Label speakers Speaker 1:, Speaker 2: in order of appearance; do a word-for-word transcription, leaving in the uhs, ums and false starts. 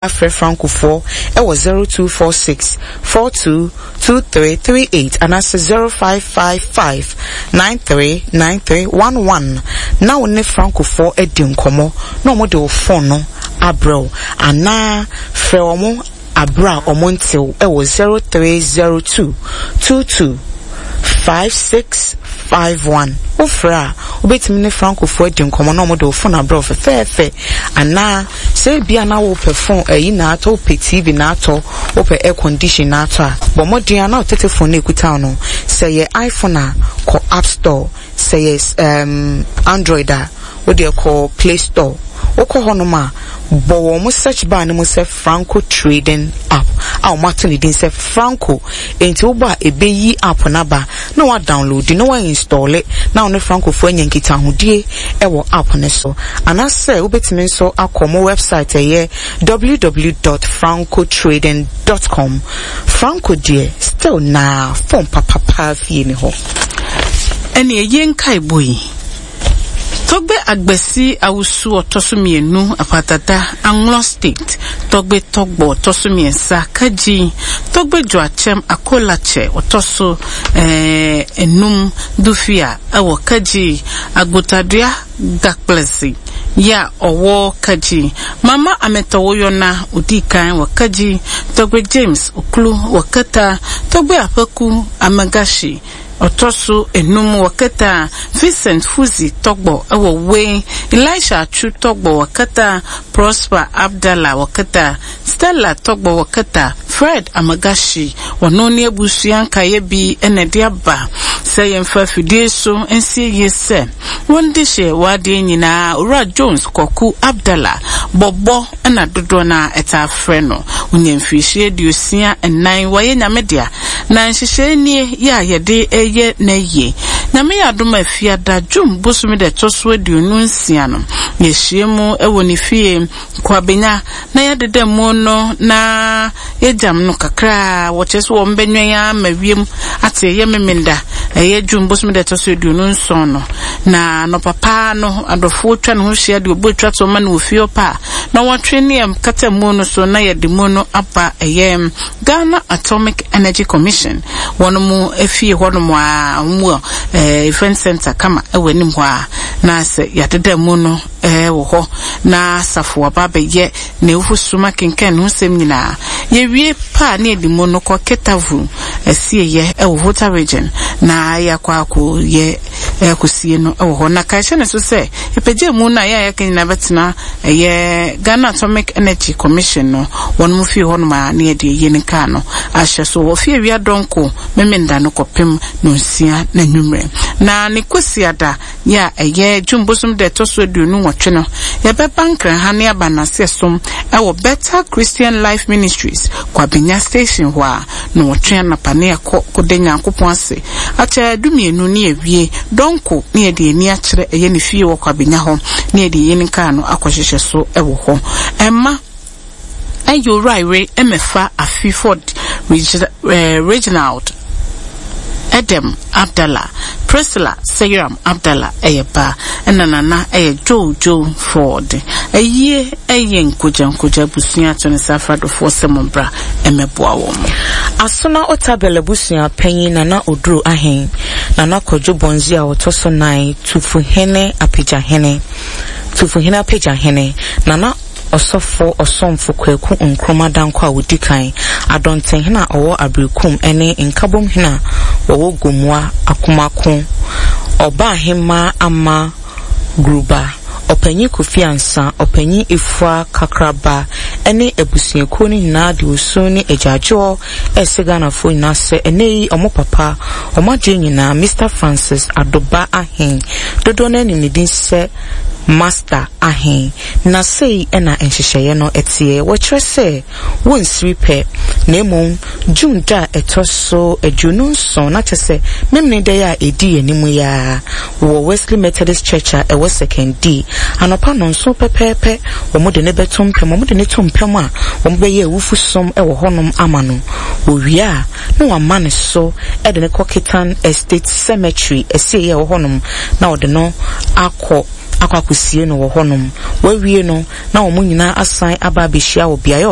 Speaker 1: Afrɛ Francofoɔ ɛwɔ zero two four six four two two three three eight anaasɛ zero five five five nine three nine three one one na wo ne Francofoɔ adi nkɔmmɔ na wɔn de wo phone no abrɛ wo, anaa frɛ wɔn abrɛ a wɔn ntew ɛwɔ zero three zero two two two five six five one. Wofrɛ a, wobɛtumi ne Francofoɔ adi nkɔmmɔ na wɔde wo phone abrɛ wo fɛfɛɛfɛ, anaa sɛ ebia na wopɛ phone ayi na atɔ, wopɛ T V na atɔ, wopɛ air condition na atɔ a, bɔ mmɔden a na wotete phone no ekuta no. Sɛ yɛ iPhone a, kɔ App Store. Sɛ yɛ um, Android a, wode kɔ Play Store. Wokɔ hɔnom a, bɔ wɔn mo search bar no mu sɛ Franco Trading app a wɔn ato ne din sɛ Franco. Nti wobɔ a, ebeyi app n'aba na wa download na wa install na wɔne Francofoɔ anya nkitahodie ɛwɔ app ne so, anaasɛ wobɛtumi nso akɔ mo website, ɛyɛ w w w dot francotrading dot com. Franco deɛ, still na phone papapa fie ni hɔ.
Speaker 2: Ɛne ɛyɛ nkaebɔ yi: Tɔgbe Agbesi Awusu ɔtɔ so mmienu, Apatata, Anlo State; Tɔgbe Tɔgbɔ ɔtɔ so mmiɛnsa, Kagyi; Tɔgbe Joakyɛm Akolakyɛ ɔtɔ so ɛɛ enum, Dufia ɛwɔ Kagyi; Agbotadua Gakplɛsi yɛ a ɔwɔ Kagyi; Mama Ametɔwoyɔna odi kan wɔ Kagyi; Tɔgbe James Okulu wɔ Keta; Tɔgbe Apeku Amagashi ɔtɔ so enum wɔ Keta; Vincent Fuzi Tɔgbɔ ɛwɔ Wei; Elisha Atsu Tɔgbɔ wɔ Keta; Prosper Abdallah wɔ Keta; Stella Tɔgbɔ wɔ Keta; Fred Amagashi. Ɔno ne abusua nkaeɛ bi ɛna ɛde aba sɛ yɛmfa afidie so nsie yie sɛ wɔn de hyɛ w'adeɛ nyinaa. Owura Jones Kɔku Abdallah Bɔbɔ ɛna dodoɔ no a ɛtaa frɛ no, onya mfirihyia aduosia nnan. Wɔyɛ Nyame dea na nhyehyɛe nie yɛ a yɛde ɛyɛ n'ayie. Nyame yɛ adom a, Fiada, June bosome da ɛtɔ so aduonu nsia no, yɛahyia mu ɛwɔ ne fie Kwabenya na yɛdeda mu no na yɛgyam no kakra. Wɔkyerɛ sɛ wɔn bɛnwɛn ama wiem ate. Ɛyɛ Memenda, ɛyɛ June bosome da ɛtɔ so aduonu nson no, na anɔpa paa no, adɔfoɔ twa ne ho hyia de obu atwa to ma no wɔ fie hɔ pa a, na wɔtwe ne yɛn kata mu no so na yɛde mu no aba ɛyɛ Ghana Atomic Energy Commission wɔn mu efie hɔnom a wɔn wɔ ɛɛ event center kama ɛwɔ anim hɔ a, na sɛ yɛadeda mu no ɛɛ wɔ hɔ na asafo aba abɛyɛ na ewu suma kenkan ne ho nsɛm nyinaa. Yɛwie paa ne yɛde mu no kɔ Ketavu asieyɛ ɛwɔ Volta Region na yɛakɔ akɔ yɛ ɛkɔsie no ɛwɔ hɔ. Na kaehyɛ ne so sɛ ɛpɛgya mu no a yɛ a yɛka nyinaa bɛtena ɛyɛ Ghana Atomic Energy Commission no wɔn mu fie hɔnom a ne yɛde ɛyie ne kaa no ahyɛ so wɔ fie awia dɔnko Memenda no kɔpem no nsia na nwummerɛ. Na ne Kwasiada yɛ a ɛyɛ June bosom da ɛtɔ so aduonu nwɔtwe no, yɛbɛba Nkran ha ne aba n'ase som ɛwɔ Better Christian Life Ministries, Kwabenya Station hɔ a, na wɔtwe anapa ne ɛkɔ kɔda Nyankopɔn ase akyɛ dumienu ne awie dɔnko ne yɛde ani akyerɛ ɛyɛ ne fie wɔ Kwabenya hɔ ne yɛde yɛ ne kaa no akɔhyehyɛ so ɛwɔ hɔ. Ɛma ɛyɛ Owura ɛmɛfa Afi Ford Reginald Edem Abdallah, Priscilla Seyiram Abdallah ɛyɛ ba, ɛna nana ɛyɛ Joe Joe Ford. Ɛyie ɛyɛ nkogya nkogya abusua ato ne sa afradofoɔ sɛ mo bra ɛmɛboa wɔn.
Speaker 1: Asona Otabel abusua panyin, Nana Oduro Ahen, Nana Kwadwo Bɔnzi a wɔtɔ so nan, Tufuhene Apagyahene, Tufuhene Apagyahene, Nana Ɔsɔfo Ɔsɔmfo Kwaku Nkrumah Danko a wodi kan, Adɔntenhene a ɔwɔ Aberekum ne Nkabomhene a wɔwɔ Gomua Akomako, Ɔbaahemmaa Ama Guruba, Ɔpanyin Kofi Ansa, Ɔpanyin Efua Kakraba ne abusuakuo no nyinaa de osu ne agyaadwoɔ ɛsɛ Ghanafoɔ nyinaa sɛ ɛnɛ yi ɔmo papa, ɔmo adeɛ nyinaa, Mister Francis Adoba Ahen, dodoɔ no anim ne din sɛ Master Ahen. Na sei ɛna nhyehyɛeɛ no ɛteɛ. Wɔkyerɛ sɛ wɔnsiri pɛ, na mmom June da a ɛtɔ so aduonu nson, na kyerɛ sɛ Memene da yi a ɛdi anim yi a, wɔ Wesley Methodist Church a ɛwɔ Sekondi, anɔpa nɔnson pɛpɛɛpɛ, wɔn de ne bɛto mpɛm. Wɔn de ne to mpɛm a, wɔn bɛyɛ awufu som ɛwɔ hɔnom ama no. Wɔwie a, na wɔama ne so ɛde ne kɔ Ketan Estate Cemetery ɛsie ɛwɔ hɔnom na wɔde no akɔ akɔ akɔsie no wɔ hɔnom. Wɔawie no, na wɔn nyinaa asan aba abɛhyia wɔ beaeɛ a